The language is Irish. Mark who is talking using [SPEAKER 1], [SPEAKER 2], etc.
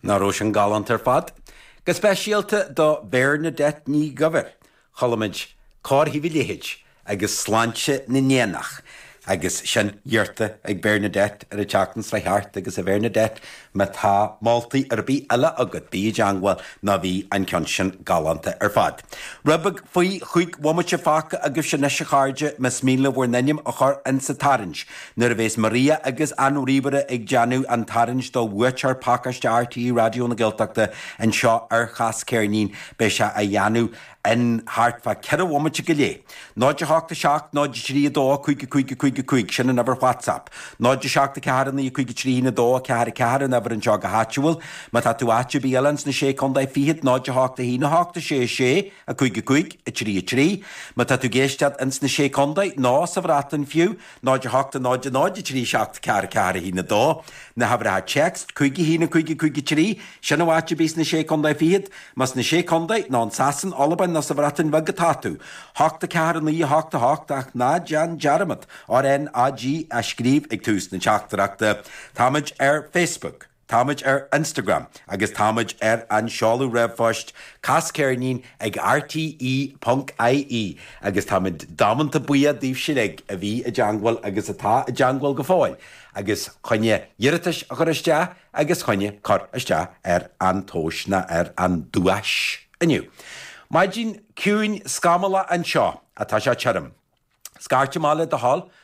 [SPEAKER 1] Nach raibh sin galánta ar fad? Go speisialta do Bhernadette Ní Dhuibhir, chuala muid Cóir Thaobh a Leithid agus Sláinte na nÉanach agus sin iarrta ag Bernadette ar an tseachtain seo thart agus a Bhernadette má tá moltaí ar bith eile agat bí i dteangmháil nó bhí an ceann sin galánta ar fad. Rud beag faoi chúig bhomaite fágtha agaibhse anois a chairde más mian libh bhur n-ainm a chur insa tarraingt nuair a bhéas Maria agus an ríomhaire ag déanamh an tarraingt do bhuaiteoir pacáiste RTÉ Raidió na Gaeltachta anseo ar Chas Ceirnín beidh sé á dhéanamh in thart fá 4 bhomaite go leith. 0 8 7 0 3 2 5 5 5 5, sin an uimhir WhatsApp. 0 7 4 9 5 3 1 2 4 4 an uimhir anseo go háitiúil. Má tá tú áit ar bith eile ins na Sé Contae Fichead, 0 8 1 8 6 6 5 5 3 3. Má tá tú ag éisteacht ins na Sé Contae, nó sa Bhreatain fiú, 0 8 0 0 3 7 4 4 1 2. Na huimhreacha téacs, 5 1 5 5 3, sin ó áit ar bith sna Sé Contae Fichead. Más sna Sé Contae, nó in Sasain, Albain nó sa Bhreatain Bheag atá tú, 8 4 9 8 8 ach ná déan dearmad RnaG a scríobh ag tús na teachtaireachta. Táimid ar Facebook. Táimid ar Instagram agus táimid ar an seoladh ríomhphoist casceirnín ag rte ponc ie agus táimid damanta buíoch daoibhse uilig a bhí i dteangmháil agus atá i dteangmháil go fóill agus choinne iarratais a chur isteach agus choinne cur isteach ar an tomhas ná ar an duais inniu. Maidin ciúin scamallach anseo atá sé tirim. Scairt amach le do thoil.